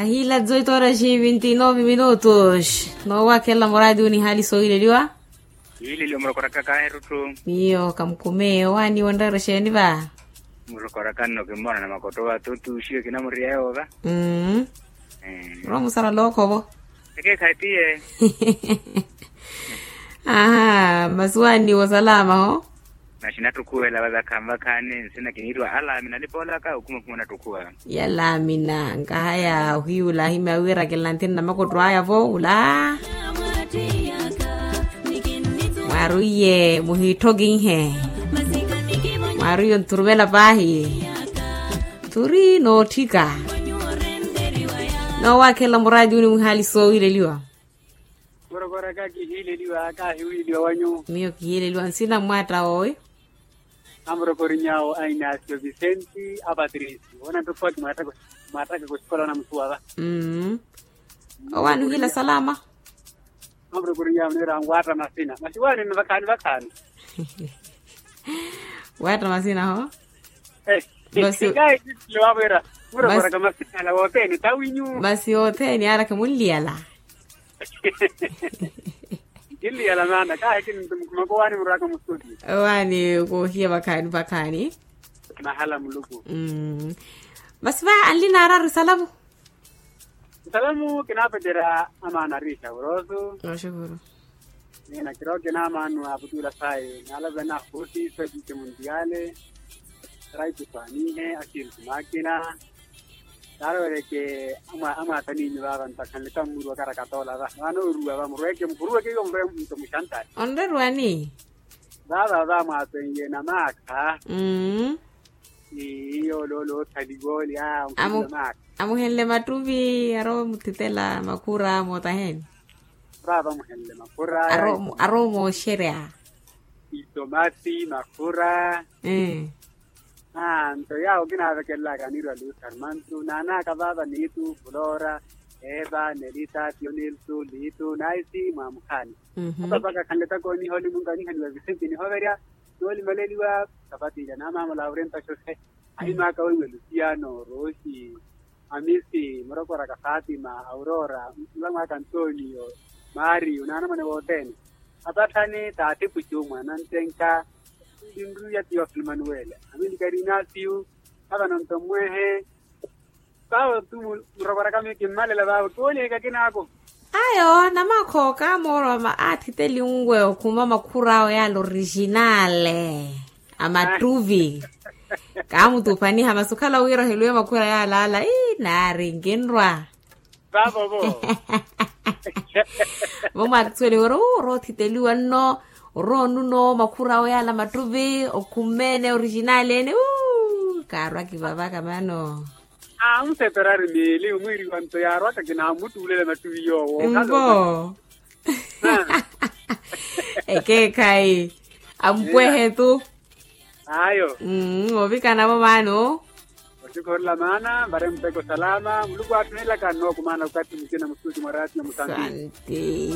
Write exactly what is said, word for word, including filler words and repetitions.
Ahila dzoito horas e vinte e nove minutos. Noowakhelela muraadi uni haali soohileliwa. Yiileliwa murokoraka kaherutthu. Miyo kamukumeyo waani wonreera exeeni va? Murokoraka nno kimmona na makotto va tuuxiwe kinamuriya yoova. Mmm. Romusala lookhovo. Ekeekhayi tiye. Aha masi waani wosalamaho. Naxinattukhuwela vakhaani vakhaani nsina kiniiriwa alaamina nipoolaka okhuma okhuma onattukhuwa. Yalaamina nkahaya ohiyula ahimya wiirakela nthina na makotto aya vo ula. Mwaarwiye muhiitthokinhe. Mwaarwiye ontturumela paahi. Turi nootthika. Noowakhelela muraadi uni muhaali soohileliwa. Murokoraka kihiileliwa kaahiwiiliwa wanyu. Miyo kihiileliwa nsina mmwaatta owi. Amurokoriny'awo a inacio vicente a patricio onanttokhuwa kimwaattaka osikola onamusuwa va. Owaani ohiila salama. Amurokoriny'awo niira anwaatta masina masi waani nno vakhaani vakhaani. Waatta masina ho. Masi kahikittile wavwera. Murokoraka masina ala wothene tawinyu. Masi othene ala khimunliyala. Kinliyala maana kaahikini nto mukhumaka owaani muraka mustudio. Owaani koohiya vakhaani vakhaani. Mahala muluku. Masi va anlina araru salamu. Nsalamu kinaapeterya amaana ariixa urosu. Oxukuru. Nina kirowa kinaamaanu aputuula sayi naalapena huutiisa tiixe muntiyale. Raitu swanihe asiritu maakina. Taarowereke amwaataniinyu vaava ntakhanle kammuru wakarakatoola va vaana oruwa va murweke muhuruweke iwo murwe nto muxantari. Onreruwani? Vaava vaamwaapenye na maakha. Mmm. Iyo loolo othaliwa oli a onkhulula maakha. Amuhenle mattuvi arowa omuthitela makhura mootaheni. Vaava amuhenle makhura. Arowa omooxerya. Itomasi makhura. Aa nto yaawo kinaavekelelaka aniirwa luusi armantu naanaaka vaava niitu fulora, eva nelita tionilsu liitu naisi mwaamukhaani. Apapaka khanletaka oniha olimunka onihaniwa visenti nihoverya noolimaleliwa. Kapattiilya naamaamala aurentaxoxe. Ahimaaka weiwe lusiano rosi, amisi murokoraka fatima aurora, mulamwaaka antonio, mario naanamwane wothene. Apatthani taattipucu mwanantenka. Linruya tiyo filmanuwele amilika rinasiyu. Avano nto mmwehe. Paavo tu murokoraka miyo kimmalela vaavo kiwooliheka kinaako. Ayo namakho kaamooroma aathiteli unwe okhuma makhura awe yaala orijinale. Amattuvi. Kaamutuphaniha masi okhala wira oheluwe makhura yaala ala ii naari nkinrwa. Vaavo vo. Vo mwaakisuweliwa ori orowa othiteliwa nno. Orowa onuno makhura awe yaala mattuvi okhumeene orijinale ene uu kaarwaki vavaka mano. Amuseperari miili omwiiriwa nto yaarwaka kinaamuttuulela mattuvi yoowo. Mvo. Ekeekhayi. Ampwehe tu. Ayo. Ovikana vo maano. Osikhorela maana mbari mpeko salama muluku atthunelaka nnookumaana okathi mucina musuuti mwa ratio musambi. Santi.